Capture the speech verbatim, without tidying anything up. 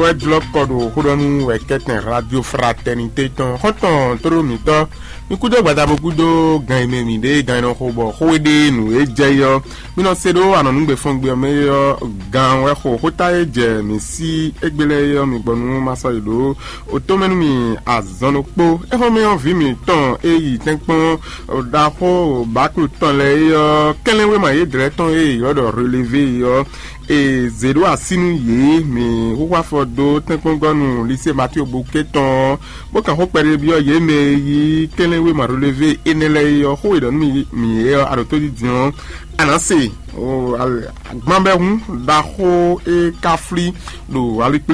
Wɛ jlɔ́ kɔ ɖo xóɖɔnú wɛ kɛ́tɛn Radio Fraternité tɔn xɔ́ntɔn tóɖó mǐtɔn. Mi kúdó gbadabo kúdó gan e mɛ mǐ ɖe gan e nɔ xo bɔ xó e ɖe nǔ e jɛ yi ɔ́, mi nɔ se ɖó anɔ̌nugbe fɔngbe ɔ́ mɛ é ɔ́, gan wɛ xo xóta e jɛ mǐ sí égbé lɛ́ɛ é ɔ́, mi gbɔ nú ma sɔ́ yi ɖǒ. O tó mɛ nú mi azɔn ɖokpó. Éhɔ́mɛ ɔ́, vǐ mǐtɔn e yi tɛ́nkpɔ́n ɖaxó bǎklu tɔn lɛ́ɛ é ɔ́, kɛnlɛ́nwéma yědɛɛ tɔn e è ylɔ́ ɖɔ relevé é ɔ́, è zě ɖó así nú yě. Mǐ xúxú afɔ dó tɛ́nkpɔ́ngɔ́nu Lisée Matío Bukée tɔn ɔ́, bó kan xó kpɛɖé byɔ́ yě mɛ e yí kɛnlɛ́nwéma relevé énɛ́ lɛ́ɛ é ɔ́, xó e ɖɔ nú mì mǐ é ɔ́, a ɖo tó dídin ɔ́, a nǎ se. Gbɔn bɛ́ hǔn ɖaxó e ka flí ɖo alikplé